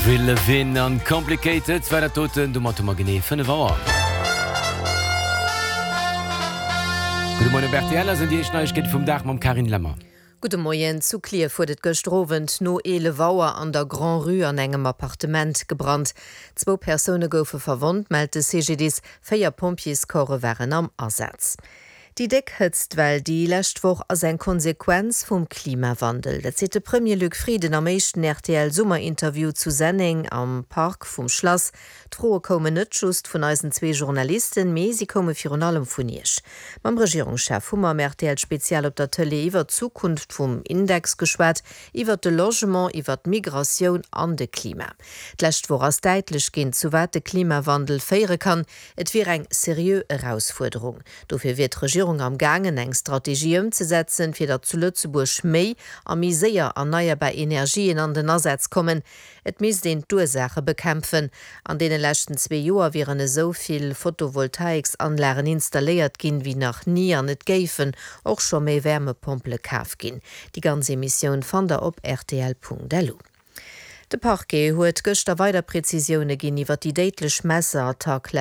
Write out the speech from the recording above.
Avril Lavigne an Complicated war dat doten. Domat hu mer genee 5 Auer. Gudde Moien op rtl, hei sinn déi éischt Neiegkeete vum Dag mam Carine Lemmer. Gudde Moien. Zu Klierf huet et gëschter Owend no 11 Auer an der Grand-Rue an engem Appartement gebrannt. Zwou Persoune goufe verwonnt, mellt de CGDIS. Véier Pompjeescorpse waren am Asaz. Déi déck Hëtztwell déi lescht Woch ass eng Konsequenz vum Klimawandel. Dat seet de Premier Luc Frieden am éischten RTL-Summerinterview zu Senneng am Park vum Schlass. D'Froe koumen net just vun eisen zwee Journalisten, mee si koume virun allem vun Iech. Mam Regierungschef hu mer am RTL-Spezial op der Tëlee iwwer d'Zukunft vum Index geschwat, iwwer de Logement, iwwer d'Migratioun an de Klima. D'lescht Woch ass däitlech ginn, zu wat de Klimawandel féiere kann. Et wier eng seriö Erausfuerderung. Dofir wier d'Regierung am gaangen, eng Strategie ëmzesetzen, fir datt zu Lëtzebuerg méi a méi séier erneierbar Energien an den Asaz kommen. Et misst een d'Ursaache bekämpfen. An deene leschten zwee Joer wieren esou vill Photovoltaiksanlagen installéiert ginn, wéi nach ni an et géifen och scho méi Wärmepompele kaf ginn. Déi ganz Emissioun fannt der op rtl.lu. De Parquet huet gëschter weider Prezisioune ginn iwwer déi déidlech Messerattack.